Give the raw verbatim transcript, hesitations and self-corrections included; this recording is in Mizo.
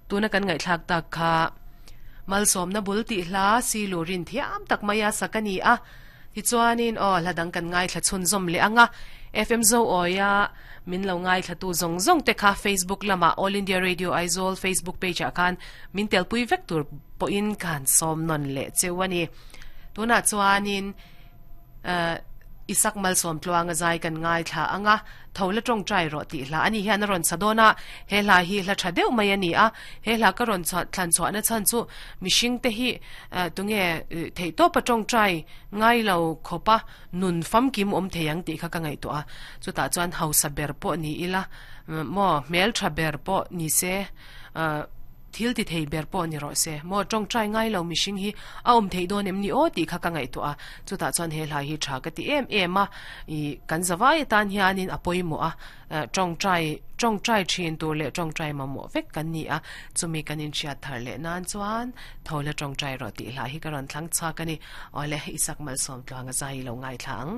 Tuna kan ngai thlak tak kha malsom na bul ti hla si lurin thiam tak maya sakani a ti chuanin o hladang kan ngai thla chhun zom le anga F M zo oya min lo ngai thla tu zong zong te kha Facebook lama All India Radio Aizawl Facebook page a khan min tel pui vek tur po in kan som non le chewani tuna chuanin isak malsom tluanga zai kan ngai thla anga thola tong trai ro ti hla ani hian ron sadona he hla hi hla tha deuh mai ani a he hla ka ron thlan chwa na chan chu mishing te hi tunge thei to pa tong trai ngai lo khopa nun fam kim om theyang ti kha ka ngai to a chu ta chuan hausa ber po ni ila mo mel tha ber po ni se thil ti thei ber po ni ro se mo tong trai ngai lo mishing hi a om thei don em ni o ti kha ka ngai to a chu ta chuan he hla hi tha ka ti em em a i kan zawai tan hianin apoi mo a tong trai tong trai thin tur le tong trai ma mo vek kan ni a chumi kanin chia thar le nan chuan thola tong trai ro ti hla hi ka ron thlang cha ka ni ole isak mal som tlanga zai lo ngai thlang.